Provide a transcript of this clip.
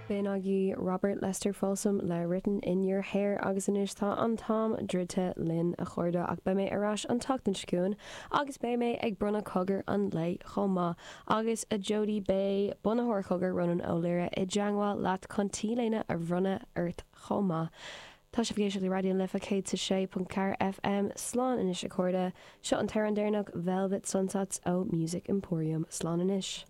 B'in agaibh Robert Lester Folsom le Written In Your Hair agus anois tá an t-am druidte linn, a chairde, ach beidh mé ar ais an tseachtain seo chugainn agus beidh mé ag bronnadh Cogar an Lae chomh maith. Agus a Jodie, beidh bunaitheoir Chogar, Rónán Ó Laoire, i dteangmháil leat chun T-léine a bhronnadh ort chomh maith. Tá sibh ag éisteacht le Raidió na Life 106.4 FM. Slán anois a chairde. Seo an t-amhrán deireanach, Velvet Sunsets ó Music Emporium. Slán anois.